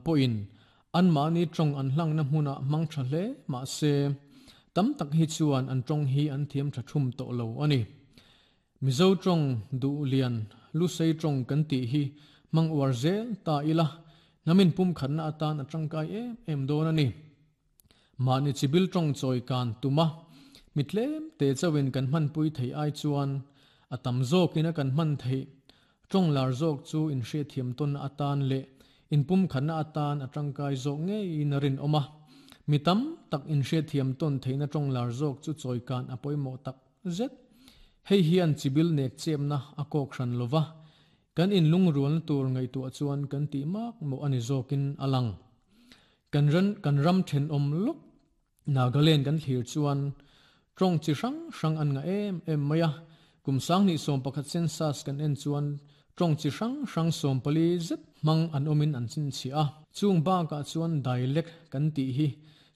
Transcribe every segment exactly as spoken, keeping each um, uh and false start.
pawhin anmahni tawng an hlangna hmunah hmang tha hle mahse tam tak hi chuan an tawng hi an thiam tha thum tawh lo a ni. Mizo tawng Duhlian Lusei tawng kan tih hi hmang uar zel ta ila namin pum khatna atan a tangkai em em dawn a ni. Mahni chibil tawng chawi kan tuma mitlem te chawin kan hman pui thei ai chuan a tam zawkin a kan hman thei tawng lar zawk chu in hriat thiam tawn atan leh in pum khatna atan a tangkai zawk ngeiin a rin awm a. Mi tam tak in hriat thiam tawn theihna tawng lar zawk chu chawi kan a pawimawh tak zet. Hei hian chibil nek chepna a kawk hran lova kan in lungrualna tur ngaihtuah chuan kan tih mak mawh ani zawkin a lang. Kan ran kan ram thenawm lawk Nagaland kan thlir chuan tawng chi hrang hrang an nga em em mai a. Kum sanghnih sawm pakhat census kan en chuan tawng chi hrang hrang sawm pali zet hmang an awmin an chinchhiah a. Chung bakah chuan dialect kan tih hi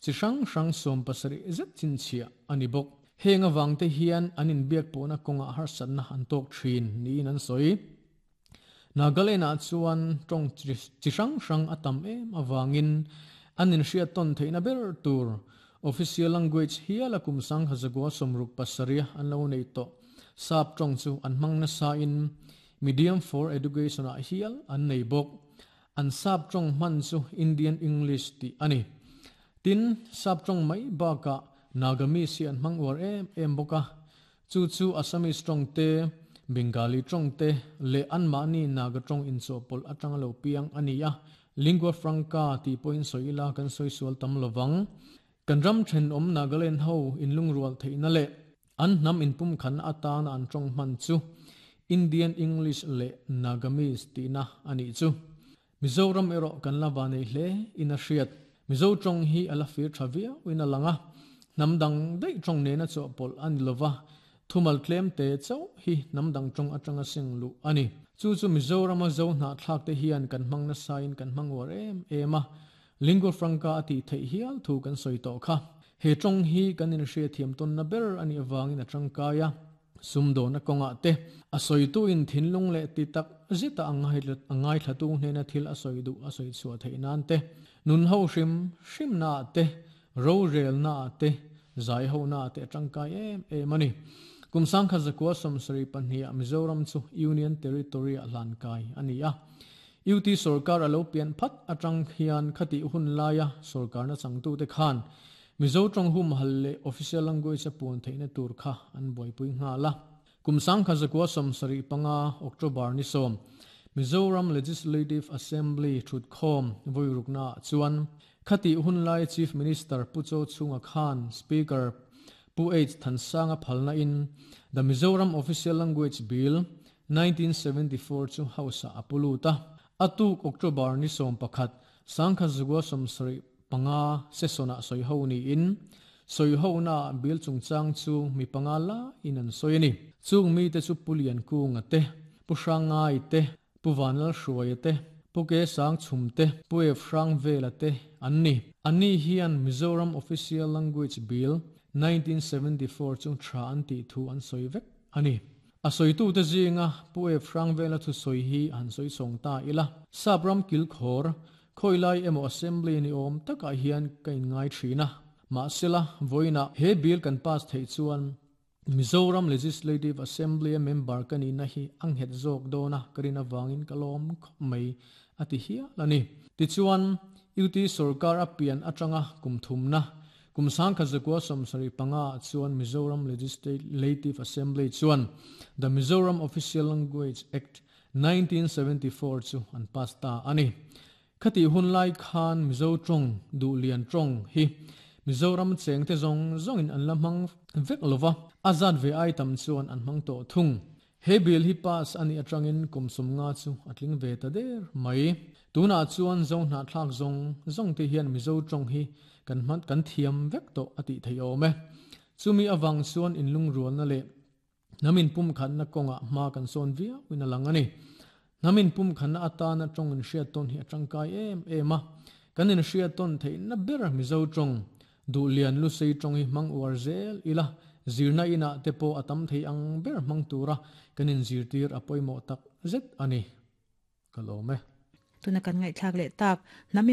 chi hrang hrang sawm pasarih zet chinchhiah a ni bawk. Heng awang te hian an inbiak pawhna kawngah harsatna an tawk thin niin an sawi. Nagaland ah chuan tawng chi hrang hrang a tam em awangin an inhriat tawn theihna ber tur official language hial a kum sangha zagua sawmruk pasarih an lo nei tawh. Sap tawng chu an hmang nasa in medium for education ah hial an nei bawk. An sap tawng hman chu Indian English tih a ni. Tin sap tawng mai bakah Nagamese hi an hmang uar em em bawk a. Chu chu Assamese tawng te, Bengali tawng te leh anmahni Naga tawng inchawhpawlh atanga lo piang a ni a. Lingua franca tih pawhin sawi ila kan sawi sual tam lovang. Kan ram thenawm Nagaland ho inlungrual theihna leh an hnam inpum khatna atana an tawng hman chu Indian English leh Nagamese tihna a nih chu. Mizoram erawh kan la va nei hle in a hriat. Mizo tawng hi a la fir tha viau in a lang a. Hnam dang daih tawng nena chawhpawlh a ni lova. Thumal tlem te chauh hi hnam dang tawng atanga seng luh a ni. Chu chu Mizorama zo hnahthlak te hian kan hmang nasa in kan hmang uar em em a. Lingua franca a tih theih hial thu kan sawi tawh kha. He tawng hi kan inhriat thiam tawnna ber a nih avangin a tangkai a. Sumdawna kawngah te a sawitu in thinlung leh ti tak zeta a ngai thlatu hnena thil a sawi duh a sawi chhuah theih nan te, nun ho hrim hrimna ah te, ro relna ah te, zai ho na ah te a tangkai em em a ni. Kum sangkhat zakua sawmsarih pahnih ah Mizoram chu Union Territory ah hlan kai a ni a. U T sarkar a lo pian phat atang hian khati hun laia sarkarna changtu te khan Mizo tawng hum hal leh official language a puan theihna tur kha an buaipui nghal a. Kum sangkhat zakua sawmsarih panga October ni sawm Mizoram Legislative Assembly thutkhawm vawi rukna ah chuan khati hun lai Chief Minister Pu Cho Chhunga Khan Speaker Pu H Thansanga phalna in The Mizoram Official Language Bill nineteen seventy-four chu House ah a pulu ta. Atuk October ni sawm pakhat sangkhat zakua sawmsarih panga session ah sawi ho ni in sawi ho na bill chungchang chu mi panga la in an sawi a ni. Chung mi te chu Pulian Kunga te, Pu Hrangai te, Pu Vanlal Hruaia te, Pu Ke Sang Chhum te, Pu F Hrang Vela te an ni. Anni hian Mizoram Official Language Bill nineteen seventy-four chung tha an tih thu an sawi vek a ni. A sawitu te zinga Pu F Hrang Vela thu sawi hi an sawi chhawng ta ila. Sapram kilkhawr khawilai emaw assembly ni awm takah hian ka inngai thin a. Mahsela vawiinah he bill kan pass theih chuan Mizoram Legislative Assembly a member ka nihna hi a nghet zawk dawn a ka rin avangin ka lawm khawp mai a ti hial a ni. Tichuan U T sarkar a pian atanga kum thumna kum sangkhat zakua sawmsarih panga ah chuan Mizoram Legislative Assembly chuan The Mizoram Official Language Act nineteen seventy-four chu an pass ta a ni. Khati hun lai khan Mizo tawng Duhlian tawng hi Mizoram cheng te zawng zawngin an la hmang vek lova. A zat ve ai tam chuan an hmang tawh thung. He bill hi pass a nih atangin kum sawm nga chu a tling ve ta der mai. Tunah chuan zo hnahthlak zawng zawng te hian Mizo tawng hi kan hman kan thiam vek tawh a tih theih awm e. Chumi awang chuan inlungrualna leh namin pum khatna kawngah hma kan sawn viau in a lang a ni. Namin pum khatna atana tawng inhriat tawn hi a tangkai em em a. Kan inhriat tawn theihna ber Mizo tawng Duhlian Lusei tawng hi hmang uar zel ila. Zirna inah te pawh a tam thei ang ber hmang tura kan inzirtir a pawimawh tak zet a ni. Ka lawm e. Tuna kan ngaihthlak leh tak. Namin